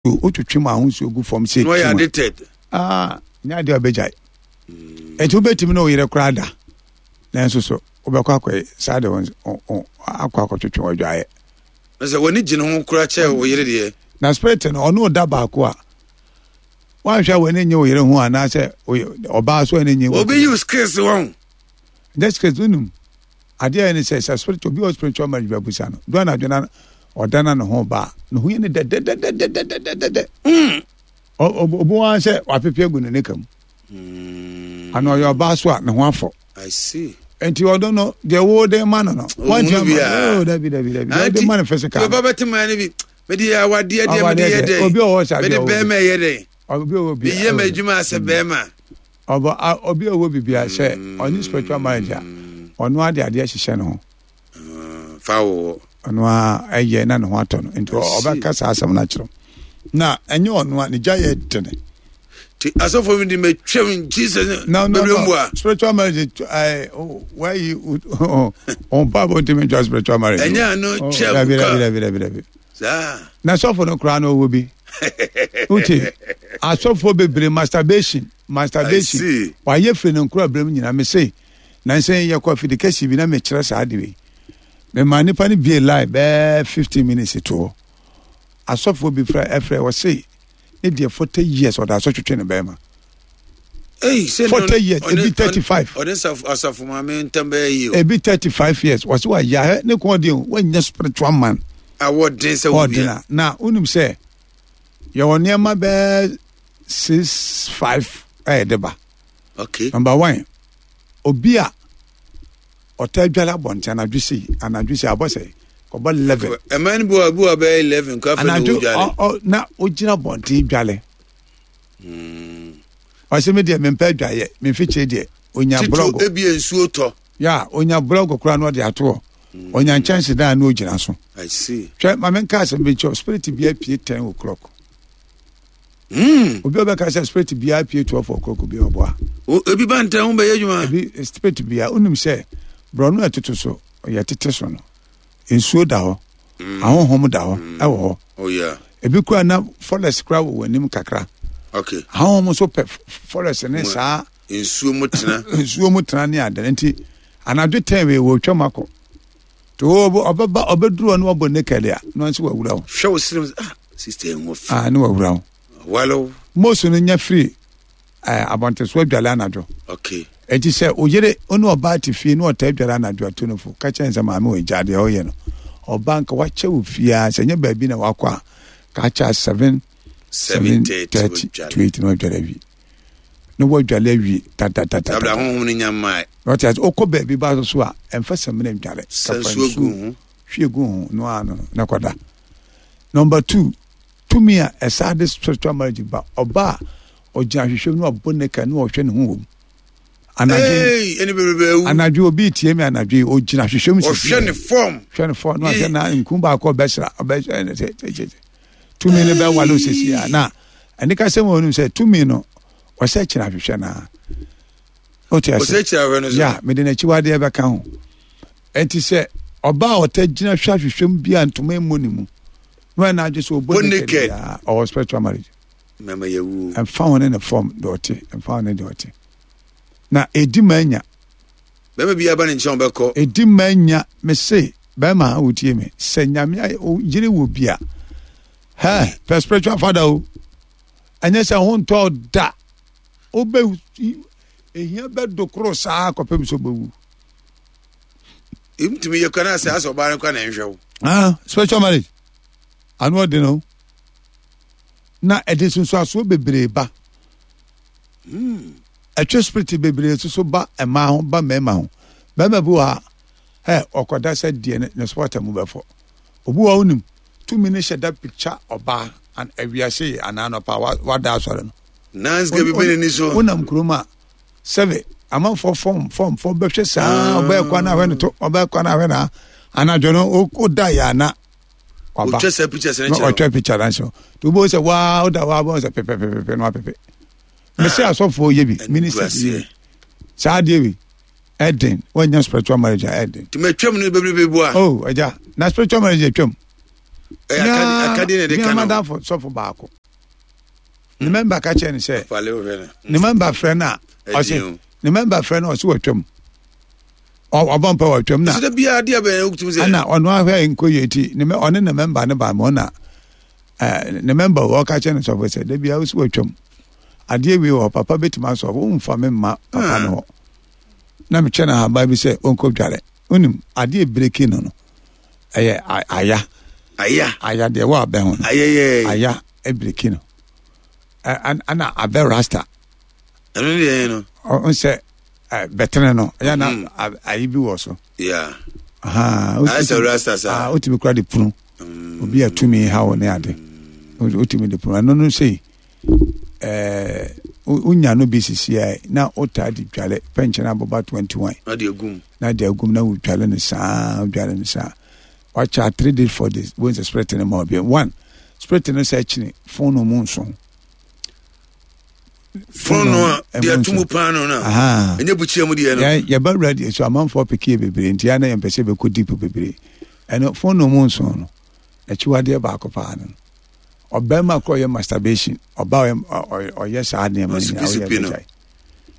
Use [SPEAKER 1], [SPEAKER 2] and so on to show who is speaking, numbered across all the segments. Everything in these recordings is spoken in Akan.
[SPEAKER 1] Wotwetwe mu ahosuo gu fam sɛ
[SPEAKER 2] na ɔyɛ addicted.
[SPEAKER 1] Ah, nyɛ adeɛ a ɔbɛgyae. Ɛnti wobɛtumi ne wo yere koraa da, nanso so wobɛkɔ akɔ saa de akɔ akɔtwetwe wadwaeɛ.
[SPEAKER 2] Na sɛ w'ani gye ne ho koraa kyɛ wo yere deɛ.
[SPEAKER 1] Na spirit no ɔne wo da baako a, woanhwɛ a w'ani nye wo yere ho anaasɛ ɔbaa so ani nye wo.
[SPEAKER 2] Obi yi skills wɔn.
[SPEAKER 1] Nyɛ skills wonim. Adeɛ a ɛyɛ ne sɛ, sɛ spirit obi wɔ spiritual marriage bi abusa no, do anadwo na ɔda na ne ho ba a, ne ho yɛ ne dɛdɛdɛdɛdɛdɛdɛ. Mm. Obi wɔn sɛ wapepe agu ne nika mu. Mm. Ana ɔyɛ ɔbaa so a ne ho afɔ.
[SPEAKER 2] I see.
[SPEAKER 1] Nti ɔdo no deɛ wo de ma no no. Wɔn ti ama oh dabi dabi dabi. Deɛ ɔde ma no physical.
[SPEAKER 2] Obi bɛ te maa ne bi. Mede yɛ awadeɛ deɛ mede yɛ dɛ.
[SPEAKER 1] Obi ɔwɔ sa
[SPEAKER 2] deɛ. Mede bɛrima yɛ dɛ.
[SPEAKER 1] Obi ɔwɔ bi.
[SPEAKER 2] Meyɛ m'adwuma asɛ bɛrima.
[SPEAKER 1] Ɔbɔ a obi a ɔwɔ biribi a sɛ ɔne spiritual marriage a ɔno ara de adeɛ hyehyɛ ne ho.
[SPEAKER 2] Fa wɔ.
[SPEAKER 1] Ɔno ara ɛyɛ na ne ho atɔ no nti ɔbɛka saa asɛm no akyerɛ na ɛnyɛ ɔno a ne gya yɛ dene.
[SPEAKER 2] Ti asɔfo mi di mɛ twɛm Jesus.
[SPEAKER 1] No no no spiritual marriage ɛɛ wɔayi wɔn pa bɔ ntumi ntwa spiritual marriage.
[SPEAKER 2] Ɛnyɛ ano twɛm
[SPEAKER 1] ka. Dabi dabi dabi dabi.
[SPEAKER 2] Saa.
[SPEAKER 1] Na sɔfo no koraa na ɔwɔ bi. Wote asɔfoɔ bebree masturbation masturbation wayɛ firi ne nkora berɛ mu nyinaa me se nansa yi yɛkɔ afidi kɛse bi na mekyerɛ saa de wei mema nipa no bie line bɛɛ 15 minutes to hɔ asɔfoɔ bi frɛ ɛfrɛ ɔse ne deɛ 40 years ɔda so twetwe ne bɛrima 40 years ebi 35
[SPEAKER 2] ɔde asafo maame ntam bɛyɛ yie
[SPEAKER 1] ebi 35 years wɔse wayɛ ahɛ ne kɔn ɔden wɔnyɛ spiritual man
[SPEAKER 2] awɔ den sɛ
[SPEAKER 1] wɔbia na wonim sɛ yɛwɔ nneɛma bɛɛ 6 5 a yɛde ba
[SPEAKER 2] okay
[SPEAKER 1] number one obi a ɔtaa dwale abɔnten anadwo sei anadwo sei abɔ sɛ kɔbɔ 11
[SPEAKER 2] ɛman no bi wɔ bi wɔ bɛyɛ 11 kɔ afei na wodwale
[SPEAKER 1] anadwo na ogyina abɔnten dwale ɔsɛ me deɛ mempɛ adwaeɛ memfikyire deɛ onya blɔgo
[SPEAKER 2] ebi nsuo tɔ
[SPEAKER 1] ya onya blɔgo koraa na ɔde ato hɔ onya nkyɛnse dan na ogyina so hwɛ ma menka asɛm bi nkyɛw spirit bi apue 10 o'clock
[SPEAKER 2] Mm.
[SPEAKER 1] Obi a ɔbɛka sɛ spirit biara pie 12 o'clock bi ɔboa.
[SPEAKER 2] Ebi ba ntɛn ho bɛyɛ adwuma.
[SPEAKER 1] Ebi spirit biara wonim sɛ borɔno a ɛtoto so yɛtete so no nsuo da hɔ mm. ahohom da hɔ mm. ɛwɔ hɔ.
[SPEAKER 2] Oh, yeah.
[SPEAKER 1] Ebi kura na forest kura wɔ wɔn anim kakra.
[SPEAKER 2] Okay.
[SPEAKER 1] Ahohom nso pɛ forest ne saa.
[SPEAKER 2] Nsuo mu tena.
[SPEAKER 1] Nsuo mu tena ne adene nti anadwo tɛn wei wɔ twam akɔ. To ɔbɛba ɔbɛduru hɔ na wabɔ naked a na ɔnso wawura wo.
[SPEAKER 2] Hwɛ wo srem ah sister ɛho fi.
[SPEAKER 1] Ah ne wawura wo.
[SPEAKER 2] Walo.
[SPEAKER 1] Mose no nya firi eh, abɔnteso adwale anadwo.
[SPEAKER 2] Okay.
[SPEAKER 1] Enti sɛ oyere ɔne ɔbaa te fie na ɔtaa dware anadwo ato no fo ka kyerɛ sɛ maame wɔ gya deɛ ɔyɛ no ɔbaa nka wakyɛ wo fie a sɛ nyɛ baabi na wakɔ a ka akyɛ 7 7:30 to 8 na wadware awie. na wadwale awie dadadada.
[SPEAKER 2] Dabla honhom no nya mmae.
[SPEAKER 1] Na ɔte ase okɔ baabi ba so a ɛmfa samina ndwale.
[SPEAKER 2] Sa nsuo gu ho.
[SPEAKER 1] Hwie gu ho no ano no na kɔda. Number two, tumi a ɛsaa de spiritual marriage ba ɔba a ɔgyina ahwehwɛ mu na wabɔ ne ka na ɔhwɛ ne ho wɔ mu.
[SPEAKER 2] Anadwo
[SPEAKER 1] anadwo obi tie mi anadwo yi ogyina ahwehwɛ mu
[SPEAKER 2] sisi. Ɔhwɛ ne fam.
[SPEAKER 1] Hwɛ ne fam na ɔhwɛ na nku baako ɔbɛsra ɔbɛsra ɛna sɛ sɛ sɛ tumi no bɛwale osisi a na ɛne kasɛm wɔ no sɛ tumi no ɔsɛ kyerɛ ahwehwɛ no a wote ase ya mede n'akyiwadeɛ bɛka ho ɛnti sɛ ɔbaa a ɔta gyina hwɛ ahwehwɛ mu bi a ntoma mmɔ ne mu na ɔyɛ n'adwe sɛ ɔbɔ naked ɔwɔ spiritual marriage ɛmfa ho ne ne fam deɛ ɔte ɛmfa ho ne deɛ ɔte na ɛdi ma anya
[SPEAKER 2] bɛrima bi aba ne nkyɛn ɔbɛkɔ
[SPEAKER 1] ɛdi ma anya mese bɛrima a wotie me sɛ nyame yere wɔ bi a hɛ pɛ spiritual father o ɛnyɛ sɛ ho ntɔ da wobɛ ehia bɛdo koro saa kɔpem sɛ wobɛwu
[SPEAKER 2] ntumi yɛ kwan asɛ asɛ ɔbaa no kwan na nhwɛ wo
[SPEAKER 1] ah spiritual marriage ano ɔde no na ɛde sunsuasoɔ bebree ba hmm. ɛtwe spirit bebree nso so ba mmaa ho ba mmarima ho barima bi wɔ ha ɛ ɔkɔda sɛ deɛ ne spɔta mu bɛfɔ obi wɔ wonim tumi no hyɛ da picture ɔbaa awiase yi anaa anɔpa wada asɔre no.
[SPEAKER 2] Nansi bi bɛ n'ani so.
[SPEAKER 1] Wonam kurom a sɛbe amanfoɔ fɔm fɔm fɔm bɛhwɛ saa ɔbɛyɛ kwan ahwɛ no to ɔbɛyɛ kwan ahwɛ na anadwo no woda yɛ ana
[SPEAKER 2] waba ɔtwa sɛ pictures no kyerɛ
[SPEAKER 1] ɔtwa picture no kyerɛ to wobɛhu sɛ waa woda waa bɛhu sɛ pɛpɛpɛpɛ no apɛpɛ mese asɔfoɔ yɛ bi ministers yɛ bi saa adeɛ wei ɛden wɔnyɛ spiritual marriage a ɛden
[SPEAKER 2] tuma twam no bebrebe boa
[SPEAKER 1] oh agya na spiritual marriage atwam.
[SPEAKER 2] Ɛyɛ akadeɛ na ɛde ka no.
[SPEAKER 1] Madamfo sɔfo baako. Ne mɛmba ka kyerɛ no sɛ. Ne mɛmba frɛ no a ɔse ne mɛmba frɛ no ɔse wɔtwam. Ɔbɔ mpa wɔtwam na.
[SPEAKER 2] Ɛsɛ biara adeɛ bɛn wotumi sɛ.
[SPEAKER 1] Ɛna ɔno ahwɛ nkɔ yie ti ne ɔne ne mɛmba no ba ma ɔna ne mɛmba ɔka kyerɛ no sɔfo sɛ da biara wosi wɔtwam. Adeɛ wei wɔ papa bɛtumi asɔ womfa me mma papa no hɔ. Na mekyɛ no ahaban bi sɛ ɔnkɔ dware. Wonim adeɛ breki no no. Ɛyɛ aya.
[SPEAKER 2] Aya.
[SPEAKER 1] Aya deɛ wɔ abɛ ho no.
[SPEAKER 2] Ayɛyɛ.
[SPEAKER 1] Aya ebiriki no. Ɛna abɛ rasta.
[SPEAKER 2] Ɛno ne deɛ no.
[SPEAKER 1] Ɔn sɛ bɛtene no ɛyɛ na mm. ayi bi wɔ so.
[SPEAKER 2] Yeah. Ayɛ sɛ rasta saa.
[SPEAKER 1] Wotumi kura de punu. Mm. Obi a tumi ha wɔ ne ade. Wotumi de punu. Ɛno no sei ɛɛ wonya no bi sisi a na wotaa de dwale pɛnkyɛn aboba 21.
[SPEAKER 2] Na de agum.
[SPEAKER 1] Na de agum na wodwale no saa wodwale no saa. Wakyɛ 3 days 4 days wɔn sɛ spirit no ma obi. One spirit no sɛ kyene phone no mu nso.
[SPEAKER 2] Phone no a deɛ ato mu paa no na ɛnyɛ bukyia mu deɛ no.
[SPEAKER 1] Yɛba radio so amanfoɔ pekeɛ bebree nti ana yɛmpɛ sɛ bɛkɔ deep bebree. Ɛno phone no mu nso no akyiwadeɛ baako paa no. Ɔbɛrima kɔ ɔyɛ masturbation ɔba ɔyɛ saa nneɛma no nyinaa ɔyɛ bɛgyae.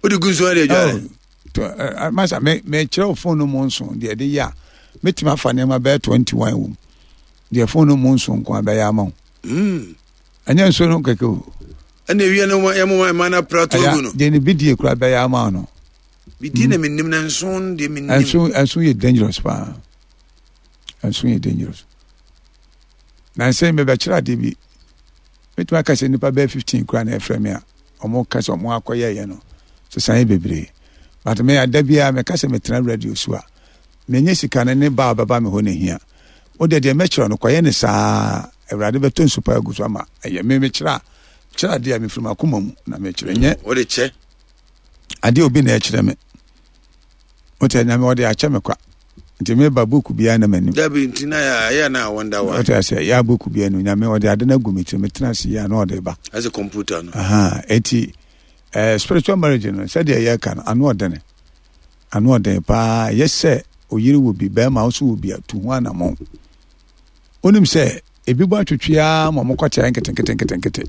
[SPEAKER 2] Wode gu nsuo de adware?
[SPEAKER 1] Oh, masa me mekyerɛ wo phone no mu nso deɛ ɛde yɛ a mɛtumi afa nneɛma bɛyɛ 21 wɔ mu deɛ phone no mu nso nko a bɛyɛ ama wo.
[SPEAKER 2] Hmm.
[SPEAKER 1] Ɛnyɛ nsuo no kɛkɛ o.
[SPEAKER 2] Ɛna ewia no yɛ mama ɛma no apra to agu no.
[SPEAKER 1] Deɛ ne bidie kura bɛyɛ ama no.
[SPEAKER 2] Bidie na menim na nso deɛ menim.
[SPEAKER 1] Nso nso yɛ dangerous paa. Nso yɛ dangerous. Na nsɛn mebɛkyerɛ adeɛ bi. Mɛtumi aka sɛ nnipa bɛyɛ 15 kura na ɛfrɛ me a wɔn ka sɛ wɔn akɔyɛɛyɛ no sesan yɛ bebree. But me ada biara meka sɛ metena radio so a menyɛ sika no ne ba a ɔbɛba me hɔ na ehia. Wo deɛ deɛ mɛkyerɛ no kɔyɛ ne saa Awurade bɛtɔ nsu pa agu so ama ɛyɛ me mekyerɛ a kyerɛ adeɛ a mefiri m'akoma mu na mekyerɛ nyɛ
[SPEAKER 2] wode kyɛ
[SPEAKER 1] adeɛ obi na ɛkyerɛ me wote nyame ɔde akyɛ me kwa nti meba book biara na m'anim
[SPEAKER 2] dabi nti na yɛ na wonder why
[SPEAKER 1] wote asɛ yɛ book biara no nyame ɔde ade no agu me tiri metena ase yɛ a na ɔde ba
[SPEAKER 2] ɛsɛ computer no
[SPEAKER 1] aha eti eh, spiritual marriage no sɛdeɛ yɛka no ano ɔdene ano ɔden paa yɛ sɛ oyere wɔ bi bɛrima nso wɔ bi a tu ho anammɔn Wonim sɛ ebi bɔ atwetwe ara ma wɔkɔ kyerɛ nketenketenketenkete.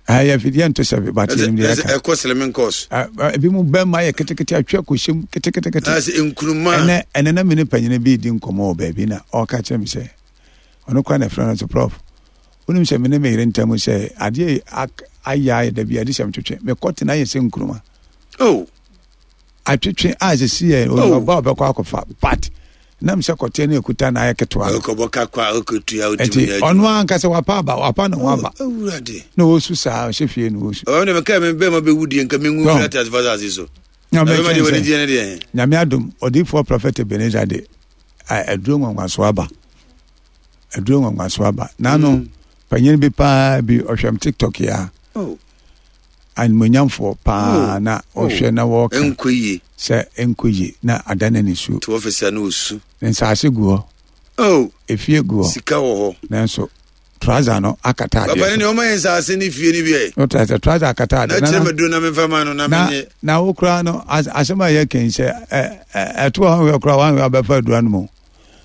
[SPEAKER 1] Ɛyɛ afidie nto sɛ but yɛnim deɛ yɛka.
[SPEAKER 2] Ɛkɔ slimming course.
[SPEAKER 1] Ebi mu bɛrima yɛ ketekete atwe akɔhyɛ mu keteketekete.
[SPEAKER 2] Ɛsɛ nkuruma.
[SPEAKER 1] Ɛnɛ ɛnɛ na me ne panyin bi redi nkɔmmɔ wɔ baabi na ɔreka kyerɛ me sɛ ɔno koraa na ɛfrɛ no sɛ prof wonim sɛ me ne me yere ntam sɛ adeɛ ayɛ ayɛ da bi ade sɛm twetwe mekɔ tena ayɛ sɛ nkuruma.
[SPEAKER 2] Oh.
[SPEAKER 1] Atwetwe a sisi yɛ
[SPEAKER 2] Oh.
[SPEAKER 1] ɔba ɔbɛkɔ akɔfa but nam sɛ kɔteɛ no ekuta na ayɛ ketewa no.
[SPEAKER 2] Ɔkɔbɔ kakwa ɔkɔtua ɔtumi
[SPEAKER 1] Nti
[SPEAKER 2] yɛ
[SPEAKER 1] ɔno ankasa wapa aba wapa ne ho aba
[SPEAKER 2] Awurade.
[SPEAKER 1] na ɔsu saa ɔhyɛ fie na ɔsu.
[SPEAKER 2] Ɔbɛn de meka me bɛma bɛwu deɛ nka menwu
[SPEAKER 1] Tɔn.
[SPEAKER 2] mfiri ate ase asase so.
[SPEAKER 1] Na
[SPEAKER 2] Na bɛma deɛ
[SPEAKER 1] mɛkyɛn
[SPEAKER 2] wɔde
[SPEAKER 1] sɛ
[SPEAKER 2] gyeɛ ne deɛ.
[SPEAKER 1] Nyame adom odiyifoɔ prɔfɛt Ebenezer de aduro nwanwaso aba aduro nwanwaso aba n'ano mm. panyin bi paa bi ɔhwɛm tiktok ya.
[SPEAKER 2] Oh.
[SPEAKER 1] Animuonyamfoɔ paa
[SPEAKER 2] Oh,
[SPEAKER 1] na
[SPEAKER 2] oh,
[SPEAKER 1] ɔhwɛ na wɔka
[SPEAKER 2] ɛnkɔ yie.
[SPEAKER 1] sɛ ɛnkɔ yie na ada no nisuo.
[SPEAKER 2] Te ɔfisi a na ɔsu.
[SPEAKER 1] Ne nsaase gu hɔ.
[SPEAKER 2] Oh,
[SPEAKER 1] Efie gu hɔ.
[SPEAKER 2] Sika wɔ hɔ.
[SPEAKER 1] Nanso trouser no akata adeɛ
[SPEAKER 2] Papa ne
[SPEAKER 1] so.
[SPEAKER 2] nea ɔma yɛ nsaase ne fie no bi ɛ.
[SPEAKER 1] No trouser trouser akata
[SPEAKER 2] Na
[SPEAKER 1] adeɛ.
[SPEAKER 2] kyerɛ me duro na memfa ma no na
[SPEAKER 1] na
[SPEAKER 2] menyɛ.
[SPEAKER 1] na wo koraa no asɛm a yɛka yi sɛ ɛ ɛ ɛto a wanhwɛ koraa wanhwɛ abɛfa aduro anom o.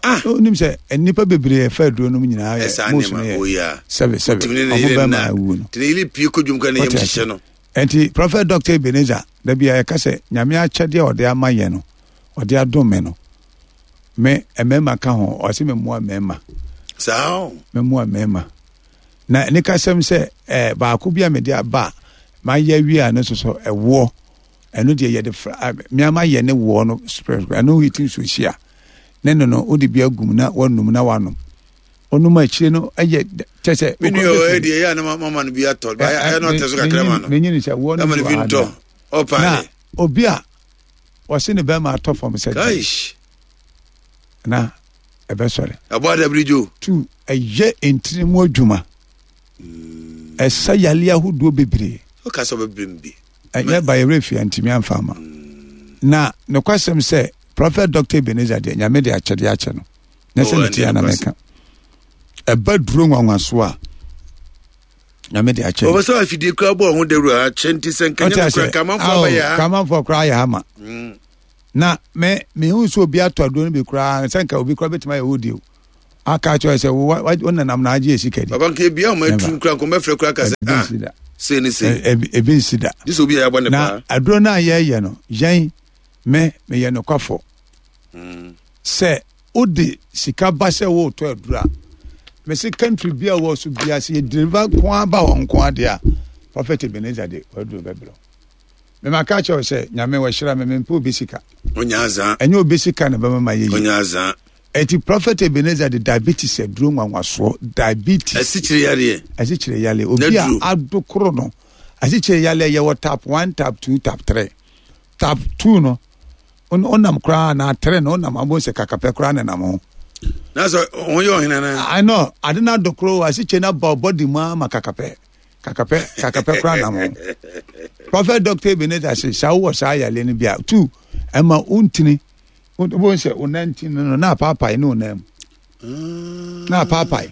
[SPEAKER 2] Ah!
[SPEAKER 1] Wonim sɛ nnipa bebree ɛfa aduro nom nyinaa yɛ
[SPEAKER 2] Ɛsaa
[SPEAKER 1] most no
[SPEAKER 2] nneɛma
[SPEAKER 1] yɛ
[SPEAKER 2] oh yeah.
[SPEAKER 1] sɛbe sɛbe
[SPEAKER 2] Tumi ne ne
[SPEAKER 1] ɔmo
[SPEAKER 2] yere
[SPEAKER 1] bɛma
[SPEAKER 2] nna.
[SPEAKER 1] awu no.
[SPEAKER 2] Nti ne yere pie kɔ dwom kora ne yam
[SPEAKER 1] Wote ase?
[SPEAKER 2] hyehyɛ no.
[SPEAKER 1] Nti Prophet Doctor Ebenezer da bi a yɛka sɛ Nyame akyɛdeɛ a ɔde ama yɛn no ɔde adom me no me mmarima ka ho ɔse me mmoa mmarima.
[SPEAKER 2] Saa o.
[SPEAKER 1] Me mmoa mmarima. Na ne kasɛm sɛ eh, baako bi a mede aba a mayɛ awie a no nso so ɛwoɔ ɛno deɛ yɛde fra meama yɛ ne woɔ no spread ɛno yi ti nsuo hyia ne no no wode bi agum na wanum na wanom ɔnum akyire no ɛyɛ kyɛ sɛ
[SPEAKER 2] me nua ɔyɛ deɛ ɛyɛ a na mama no bi atɔ ɛyɛ na ɔtɛ so kakra ma no
[SPEAKER 1] menyini sɛ woɔ no
[SPEAKER 2] bi
[SPEAKER 1] wɔ
[SPEAKER 2] ntɔ ɔpa
[SPEAKER 1] na obi a ɔse ne bɛrima atɔ fam sɛ na ɛbɛsɔre
[SPEAKER 2] ɛbɔ adabiri dwo
[SPEAKER 1] tu ɛyɛ ntini mu adwuma ɛsa yale ahodoɔ bebree
[SPEAKER 2] ɔka sɛ ɔbɛbrɛ mu bi
[SPEAKER 1] Ɛnyɛ ba yɛwerɛ fie antumi amfa ama. Na nokwasɛm sɛ Prophet Dr. Ebenezer deɛ Nyame de akyɛdeɛ akyɛ no. Na sɛ ne tia na mɛka. Ɛba duro nwanwaso a Nyame de akyɛ.
[SPEAKER 2] Ɔbɛ sɛ afidie kura bɔ ɔho dawuro akyɛ nti sɛ nka nyame kura kamanfoɔ abɛyɛ ha.
[SPEAKER 1] Kamanfoɔ kura ayɛ ha ma. Mm. Na me mehu sɛ obi atɔ aduro no bi koraa sɛ nka obi koraa bɛtumi ayɛ wo deɛ o. Aka kyerɛ sɛ wo wo nanam na agye sika di.
[SPEAKER 2] Papa nka ebia wɔn atu nkura nkɔmɔ bɛfrɛ kura kasa.
[SPEAKER 1] Ebi nsi da.
[SPEAKER 2] Sei ne sei.
[SPEAKER 1] Ebi nsi da.
[SPEAKER 2] Gye sɛ obi a yɛabɔ ne
[SPEAKER 1] paa. Na aduro no a yɛyɛ no yɛn me meyɛ nokwafo. Sɛ wode sika ba sɛ woretɔ aduro a mese country bi a wɔ so bia sɛ yɛ deliver nko ara ba hɔ nko ara deɛ a Prophet Ebenezer de w'aduro bɛbrɛ wo. Mema ka kyerɛ wo sɛ Nyame wahyira me mempɛ obi sika. Ɛnyɛ obi sika na ɛbɛma mayɛ yie. Eti Prophet Ebenezer de diabetes aduro nwanwasoɔ diabetes.
[SPEAKER 2] Asikyire yareɛ.
[SPEAKER 1] Asikyire yareɛ obi a adokoro no asikyire yareɛ yɛwɔ type 1, type 2, type 3. Type 2 no wonam koraa na 3 no wonam abɔ sɛ kakapɛ koraa na nam ho.
[SPEAKER 2] Na sɛ ho yɛ ɔhene na.
[SPEAKER 1] I know ade no adokoro asikyire no aba body mu ama kakapɛ kakapɛ kakapɛ koraa nam ho. Prophet Doctor Ebenezer sɛ saa wowɔ saa yareɛ no bi a 2 ɛma wontini wobɛhu sɛ wo nan ti no no na apaapae ne wo nan mu ah. na apaapae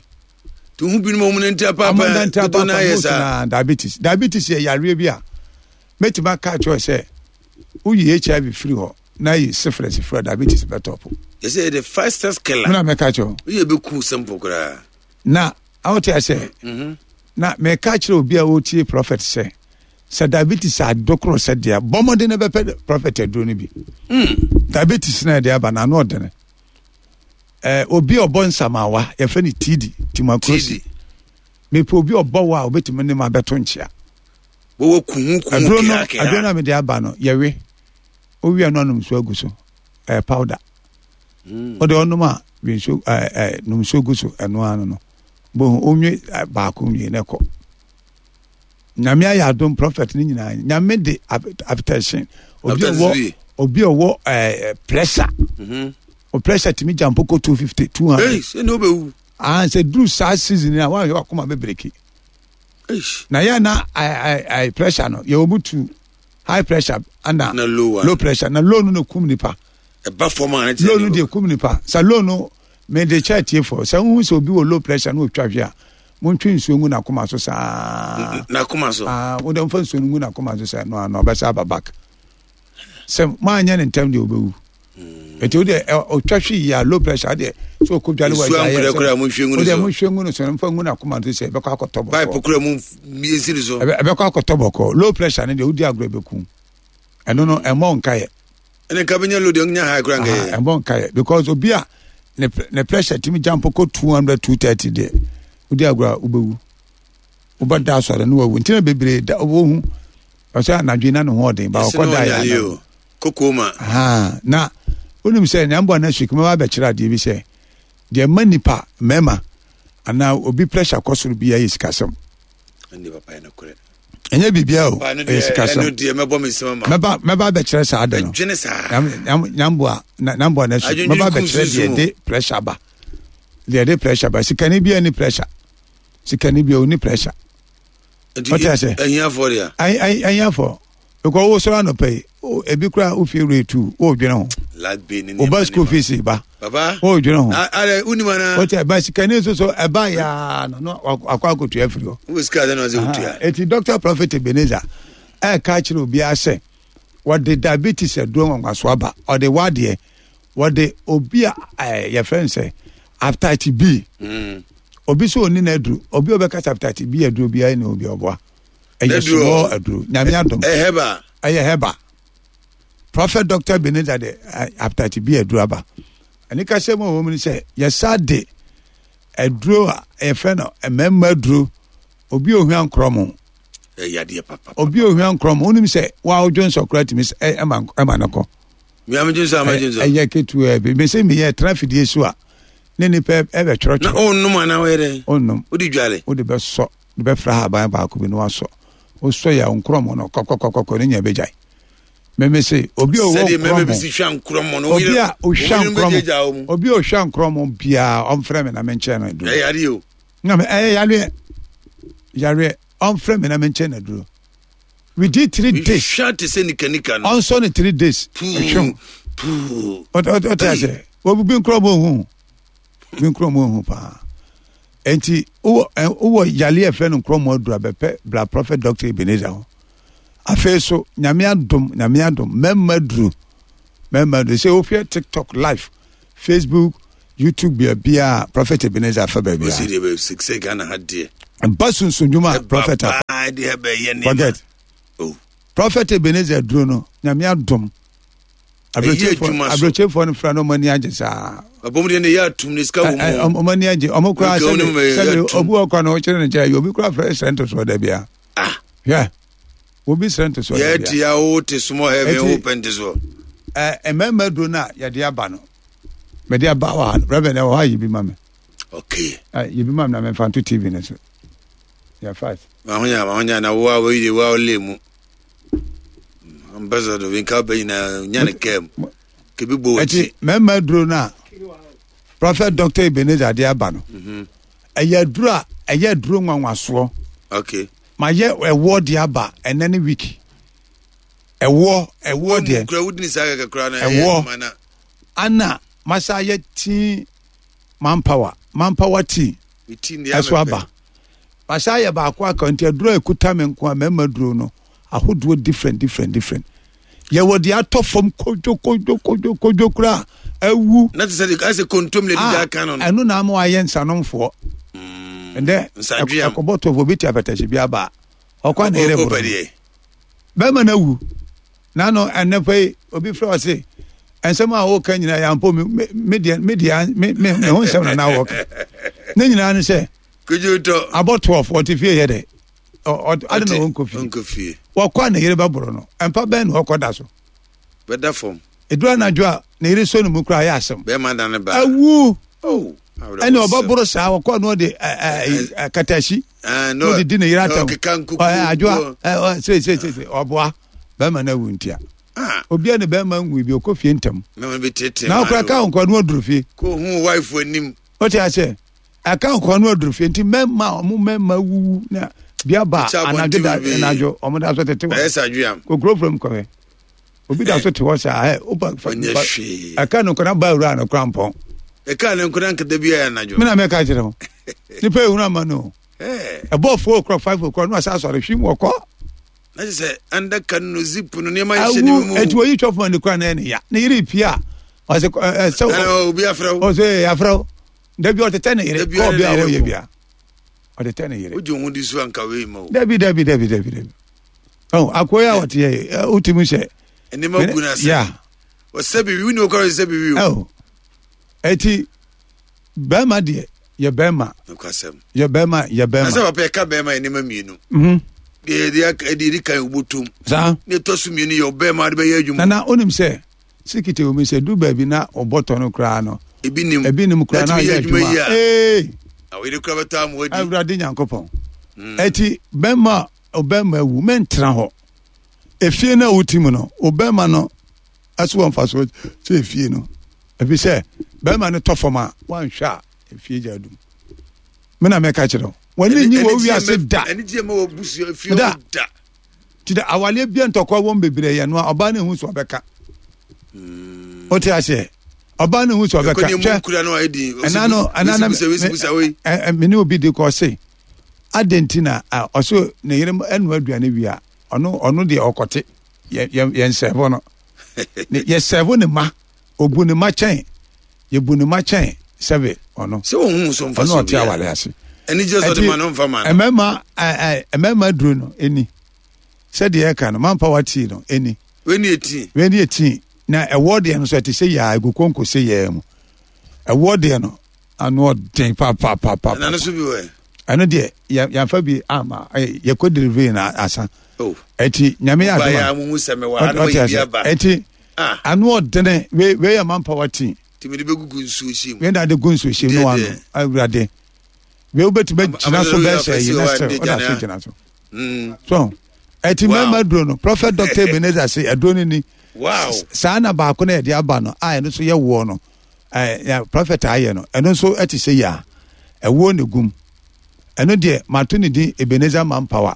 [SPEAKER 2] nti wohu binom ɔmo nanti apaapae dodo no ayɛ saa
[SPEAKER 1] diabetes diabetes yɛ yareɛ bi a mɛtumi aka akyerɛ sɛ woyi hiv firi hɔ na yi syphilis firi hɔ diabetes bɛtɔpo.
[SPEAKER 2] Yɛsɛ yɛ the fastest killer.
[SPEAKER 1] Mena mɛka kyerɛ.
[SPEAKER 2] Woyɛ bɛku simple koraa.
[SPEAKER 1] Na awote asɛ. Mhm. Na mɛka kyerɛ obi a ɔtie prophet sɛ sɛ diabetes adokoro sɛ deɛ bɔ mmɔden na bɛpɛ prophet aduro no bi. Mm. Diabetes na ɛde aba na ano ɔdene. Eh, obi a ɔbɔ nsamawa yɛfrɛ no tidi timakurosi. Mepɛ obi a ɔbɔ wɔ a obetumi ne ma bɛto nkyea.
[SPEAKER 2] Wɔwɔ kuhu kuhu
[SPEAKER 1] kea kea. Aduro no a mede aba no yɛwe. Owia no anom nsuo agu so. Ɛyɛ powder. Mm. Wode ɔnom a we nsuo ɛɛ ɛɛ nom nsuo gu so ɛno ano no. Bohu onwe baako nwie na ɛkɔ. Nyame ayɛ adom prophet ne nyinaa. Nyame de hypertension. Obi ɔwɔ obi ɔwɔ ɛɛ pressure. Mm-hmm. O pressure tumi jump kɔ 250 200.
[SPEAKER 2] Hey, sɛ na obewu.
[SPEAKER 1] Ah, sɛ duru saa season a wɔn ahwɛ wakoma bebreki. Na yɛ na ai pressure no yɛ wɔn tu high pressure ana
[SPEAKER 2] na low,
[SPEAKER 1] low pressure na low no na kum nipa.
[SPEAKER 2] Ɛba fam a
[SPEAKER 1] low no deɛ kum nipa sɛ low no mede kyɛ atiefoɔ sɛ wohu sɛ obi wɔ low pressure na otwa hwe a montwe nsuo ngu n'akoma so saa.
[SPEAKER 2] N'akoma so.
[SPEAKER 1] Aa wode mfa nsuo no ngu n'akoma so sɛ no ano ɔbɛsa aba back. Sɛ moanyɛ ne ntɛm deɛ ɔbɛwu. Ɛti wo deɛ ɔtwa hwe yi a low pressure deɛ sɛ ɔkɔ dwale wɔ
[SPEAKER 2] agya yɛ sɛ
[SPEAKER 1] wo deɛ monhwɛ ngu no so mfa ngu n'akoma so sɛ ɛbɛkɔ akɔtɔ bɔkɔɔ.
[SPEAKER 2] Pipe kura mu mmiɛnsi no so.
[SPEAKER 1] Ɛbɛkɔ akɔtɔ bɔkɔɔ low pressure no deɛ wodi agorɔ ɛbɛku ɛno no ɛmmɔ nkayɛ.
[SPEAKER 2] Ɛne nka bɛnya low deɛ nya high kura nkɛyɛ.
[SPEAKER 1] Ɛmmɔ nkayɛ because obi a ne ne pressure tumi jump kɔ 200 230 deɛ wodi agorɔ a wobɛwu wobɛda asɔre no wawu nti na bebree da wɔhu ɔsɛ anadwo na ne ho ɔden ba ɔkɔ da yɛ
[SPEAKER 2] anadwo. Kokoma.
[SPEAKER 1] Ahaa, na wonim sɛ nea mboa next week mɛba abɛkyerɛ adeɛ bi sɛ deɛ ɛma nipa mmarima anaa obi pressure kɔ soro biara yɛ sikasɛm. Ɛnyɛ biribiara o, ɛyɛ sikasɛm. Mɛba mɛba abɛkyerɛ saa ade no. Nyamboa nyamboa next week mɛba abɛkyerɛ deɛ ɛde pressure ba. Deɛ ɛde pressure ba. Sikani biara ni pressure. Sikani biara ɔni pressure.
[SPEAKER 2] Ɔte ase. Ahiafoɔ deɛ.
[SPEAKER 1] Ahiafoɔ. Because wo sɔrɔ anɔpa yi, ebi kura wo fie wura etu, wo dwene ho. Wo ba school fees ba. Wo dwene ho. O tɛ ba sikani nso so ɛba yaa no no akɔ akotua afiri hɔ.
[SPEAKER 2] Wo sika de na ɔsɛ otua.
[SPEAKER 1] Eti Dr. Prophet Ebenezer ɛka kyerɛ obiara sɛ wɔde diabetes aduro nwanwaso aba ɔde wadeɛ wɔde obi a ɛɛ yɛfrɛ no sɛ hepatitis B. Mm. Obi sɛ ɔni n'aduro obi a ɔbɛka sɛ hepatitis B aduro biara ni obi ɔboa. Ɛyɛ small aduro nyame adom.
[SPEAKER 2] Ɛyɛ hɛba.
[SPEAKER 1] Ɛyɛ hɛba. Prophet Doctor Ebenezer de hepatitis B aduro aba. Ɛne kasɛ mu a wɔn mu sɛ yɛsa de aduro a yɛfrɛ no mmarima aduro obi ohua nkorɔmo.
[SPEAKER 2] Ɛyɛ adeɛ papa.
[SPEAKER 1] Obi ohua nkorɔmo wonim sɛ wa odwo nsɔ koraa tumi ɛma ɛma no kɔ. Ɛyɛ ketewa bi mese meyɛ tena fidie so a ne nipa ɛbɛtwerɛtwerɛ.
[SPEAKER 2] Na ɔnnom anaa ɔyɛ dɛ?
[SPEAKER 1] Ɔnnom.
[SPEAKER 2] Wode dwale?
[SPEAKER 1] Wode bɛsɔ de bɛfra haban baako bi na wasɔ. Wosɔ yɛ a nkorɔmɔ no kɔkɔkɔkɔ ne nyɛ bɛgyae. Meme se obi a ɔwɔ
[SPEAKER 2] nkorɔmɔ
[SPEAKER 1] no obi a ɔhwɛ nkorɔmɔ obi a ɔhwɛ nkorɔmɔ biara ɔmfrɛ me na menkyɛn no aduro.
[SPEAKER 2] Ɛyɛ yareɛ o.
[SPEAKER 1] Na me ɛyɛ yareɛ yareɛ ɔmfrɛ me na menkyɛn no aduro. Within 3 days.
[SPEAKER 2] Hwɛ te sɛ nikanika no.
[SPEAKER 1] Ɔnsɔ no 3 days. Ɛhwɛ mu. Ɔte ase. Obi nkorɔmɔ ohu. Obi nkorɔmɔ ohu paa. Enti wowɔ wowɔ yale a ɛfrɛ no nkorɔmɔ aduru abɛpɛ bra Prophet Doctor Ebenezer hɔ. Afei so Nyame adom Nyame adom mɛma aduru mɛma aduru sɛ wohwɛ TikTok live Facebook YouTube baabiara Prophet Ebenezer fa baabiara.
[SPEAKER 2] Ɔsi deɛ bɛ sɛ Ghana ha deɛ.
[SPEAKER 1] Ɛba sunsun dwuma Prophet
[SPEAKER 2] afa. Ɛba deɛ bɛyɛ nneɛma.
[SPEAKER 1] Forget.
[SPEAKER 2] Oh.
[SPEAKER 1] Prophet Ebenezer duro no nyame adom. Aburokyefoɔ no fira no ɔmo ani agye saa.
[SPEAKER 2] Abom deɛ ne yɛ atum ne sika wɔ mu.
[SPEAKER 1] Ɔmo ani agye ɔmo kura sɛbi sɛbi obi wɔ kɔ no ɔkyerɛ ne kyerɛ yɛ obi kura fɛ sɛ ntosoɔ dɛ bia.
[SPEAKER 2] Ah.
[SPEAKER 1] Hwɛ obi srɛ ntosoɔ dɛ bia.
[SPEAKER 2] Yɛ ti a o te small heaven o pɛ ntosoɔ.
[SPEAKER 1] Ɛ mmarima duro no a yɛde aba no mɛde aba wɔ ha no reverend ɛwɔ hɔ a yɛ bi ma mi.
[SPEAKER 2] Okay.
[SPEAKER 1] Ɛ yɛ bi ma mi na mɛ nfa nto tv ne so. Yɛ fast.
[SPEAKER 2] Mahonya mahonya na wo a wo yi de wo a wo le mu. Ambassador bi nka bɛ nyinaa nya ne kaa mu. Kebi bɔ
[SPEAKER 1] wɔ akyi. Mmarima duro no a Prophet Dr. Ebenezer de aba no ɛyɛ aduro a ɛyɛ aduro nwanwasoɔ.
[SPEAKER 2] Okay.
[SPEAKER 1] Mayɛ ɛwoɔ de aba ɛnɛ ne week. Ɛwoɔ ɛwoɔ deɛ.
[SPEAKER 2] Kura wudi ni saa kɛkɛ kura na
[SPEAKER 1] ɛwoɔ ana masa ayɛ tii manpower manpower tea ɛso aba. Masa ayɛ baako aka nti aduro a ekuta me nko a mmarima duro no ahodoɔ different different different. Yɛwɔ deɛ atɔ fam kodwo kodwo kodwo kodwo kura awu.
[SPEAKER 2] Na te sɛ de asɛ kontom na ɛdi aka no.
[SPEAKER 1] Ɛno na ama wayɛ nsanomfoɔ. Ndɛ ɛkɔbɔ tɔfo obi te apɛtɛhye bi aba a ɔkɔ na yɛrɛ boro. Bɛrima no awu. Nano ɛnɛ pɛ yi obi frɛ ɔse nsɛm a wɔka nyinaa yɛ ampo me me deɛ me deɛ me me me ho nsɛm na na wɔka. Ne nyinaa ne sɛ abɔ 12 ɔte fie yɛ dɛ. Ade na ɔnkɔ fie. Wɔkɔ a ne yere bɛboro no. Mpa bɛn na ɔkɔ da so.
[SPEAKER 2] Bɛda fam.
[SPEAKER 1] Ɛduru anadwo a ne yere sɔ ne mu koraa yɛ asɛm.
[SPEAKER 2] Bɛrima da ne ba.
[SPEAKER 1] Awu. Oh. Ɛne ɔbɛboro saa wɔkɔ no ɔde katahyi. Na ɔde di ne yere atɛm. Adwoa seeseesei ɔboa bɛrima no awu ntia. Obi a ne bɛrima nwu bi ɔkɔ fie ntɛm. Na ɔkora ka nkɔ no aduru fie.
[SPEAKER 2] Kò hu wife anim.
[SPEAKER 1] Ɔte aseɛ. Ɛka nkɔ no aduru fie nti mɛma ɔmo mɛma wuwu na bia ba anadwo da anadwo ɔmo da so tete
[SPEAKER 2] hɔ.
[SPEAKER 1] Kokuro fam kɔhɛ. Obi da so te hɔ saa ɛ opa fa ɛka no nkɔla ba awura no kora mpɔn.
[SPEAKER 2] Ɛka no nkɔla nkata bi ayɛ anadwo.
[SPEAKER 1] Mena mɛka kyerɛ ho. Nipa ehunu ama no. Ɛbɔ 4 o'clock 5 o'clock no asa asɔre hwim wɔkɔ.
[SPEAKER 2] Na kyerɛ sɛ andaka no zip no nneɛma nhyɛ ne mu.
[SPEAKER 1] Awu eti oyi twɔfo ma ne kura na ɛne ya. Ne yere pia. Ɔsɛ ɛ sɛ.
[SPEAKER 2] Obi afrɛ wo.
[SPEAKER 1] Ɔsɛ afrɛ wo. Dabi ɔtetɛ ne yere. Kɔɔ bi a ɔyɛ bia. Ɔtetɛ ne yere.
[SPEAKER 2] Wogye wo ho di so anka wei ma o.
[SPEAKER 1] Dabi dabi dabi dabi dabi. Oh, akoa yi a ɔte yɛ wotumi sɛ.
[SPEAKER 2] Nneɛma gu n'ase.
[SPEAKER 1] Ya.
[SPEAKER 2] Ɔsɛ bibi wuni okɔrɔ sɛ bibi
[SPEAKER 1] o. Oh. Eti bɛrima deɛ yɛ bɛrima.
[SPEAKER 2] Nokwasɛm.
[SPEAKER 1] Yɛ bɛrima yɛ bɛrima.
[SPEAKER 2] Nasɛ papa yɛka bɛrima yɛ nneɛma mmienu. Deɛ yɛde ɛdi kan obotom.
[SPEAKER 1] Saa.
[SPEAKER 2] Ne ɛtɔ so mmienu yɛ ɔbɛrima de bɛyɛ adwuma.
[SPEAKER 1] Nana onim sɛ sikiti omi sɛ du baabi na ɔbɔtɔ no koraa no.
[SPEAKER 2] Ebi nim.
[SPEAKER 1] Ebi nim koraa na ɔyɛ adwuma. Ee.
[SPEAKER 2] Awere koraa bɛtɔ amu adi.
[SPEAKER 1] Awurade Nyankopɔn. Eti bɛrima ɔbɛrima awu mɛntena hɔ. Efie no a wote mu no, ɔbɛrima no ɛso wɔ mfasoɔ sɛ efie no. Efi sɛ bɛrima no tɔ fam a wanhwɛ a efie gya adum. Me na mɛka kyerɛ wo. Wɔne nyi wɔ wiase da.
[SPEAKER 2] Da.
[SPEAKER 1] Ti da awaleɛ bia ntɔkwa wɔm bebree yɛ no a ɔbaa no ehu so ɔbɛka. Wote aseɛ? Ɔbaa no ehu so ɔbɛka.
[SPEAKER 2] Hwɛ
[SPEAKER 1] ɛna no ɛna na me ne obi di kɔ ɔse adɛn nti na ɔso ne yere ɛnoa aduane wie a ɔno ɔno deɛ ɔkɔte yɛ yɛ yɛn sɛɛfo no yɛ sɛɛfo ne ma obu ne ma kyɛn yɛbu ne ma kyɛn sɛbe ɔno
[SPEAKER 2] sɛ ohun so nfa
[SPEAKER 1] so ɔno ɔte awale ase
[SPEAKER 2] ɛni jɛ sɔ de ma no nfa ma
[SPEAKER 1] no mmarima ɛɛ mmarima duro no ɛni sɛdeɛ ɛka no mampa watii no ɛni
[SPEAKER 2] wei ni eti
[SPEAKER 1] wei ni eti na ɛwɔ deɛ no so ɛte sɛ yaa egu konko sɛ yaa mu ɛwɔ deɛ no ano ɔden papaapapa.
[SPEAKER 2] Ɛna no so bi wɔ.
[SPEAKER 1] Ɛno deɛ yɛnfa bi ama yɛkɔ delivery na asa.
[SPEAKER 2] Oh.
[SPEAKER 1] Ɛti nyame yɛ
[SPEAKER 2] adoma. Ɔba yɛ sɛ mewɔ ha na wɔyɛ bi aba.
[SPEAKER 1] Ɛti
[SPEAKER 2] ah.
[SPEAKER 1] ano ɔdene wei wei yɛ manpower team.
[SPEAKER 2] Tìmí de bɛ gugu nsuo hyɛ mu.
[SPEAKER 1] Wei na de gu nsuo hyɛ mu no ano awurade. Wei wobɛtumi agyina so bɛɛ sɛ yi na sɛ ɔda so gyina so.
[SPEAKER 2] Mm.
[SPEAKER 1] So ɛti mmarima duro no Prophet Dr. Ebenezer se aduro no ni.
[SPEAKER 2] Wow.
[SPEAKER 1] Saa na baako na yɛde aba no a ɛno nso yɛ woɔ no. ɛɛ prɔfɛt ayɛ no ɛno nso ɛte sɛ yia ɛwoɔ ne gum ɛno deɛ mato ne din Ebenezer Manpower.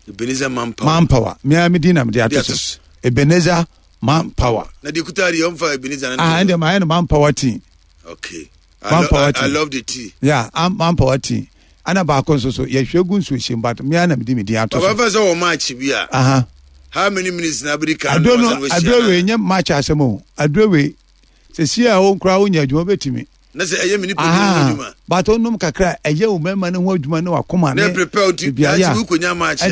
[SPEAKER 2] Ebenezer Manpower.
[SPEAKER 1] Manpower mmea mi din na mi de ato so Ebenezer Manpower.
[SPEAKER 2] Na deɛ kuta deɛ ɔnfa Ebenezer
[SPEAKER 1] na. Ah ɛnde maa yɛ no Manpower team.
[SPEAKER 2] Okay.
[SPEAKER 1] Manpower team.
[SPEAKER 2] I love the tea.
[SPEAKER 1] Yeah, Manpower team. Ana baako nso so yɛhwɛ gu nsuo hyɛm but mmea na mi de mi din ato so.
[SPEAKER 2] Papa fɛ sɛ wɔ match bi a.
[SPEAKER 1] Aha.
[SPEAKER 2] How many minutes na abiri kan?
[SPEAKER 1] Aduro no aduro wei nye match asɛm o aduro wei. Sɛsi a wo koraa wonya adwuma wobɛtumi.
[SPEAKER 2] Na sɛ ɛyɛ me nipadua no ho adwuma.
[SPEAKER 1] But onom kakra ɛyɛ wo mmarima no ho adwuma ne wakoma
[SPEAKER 2] ne. Na prepare ti daakye wo konya match a.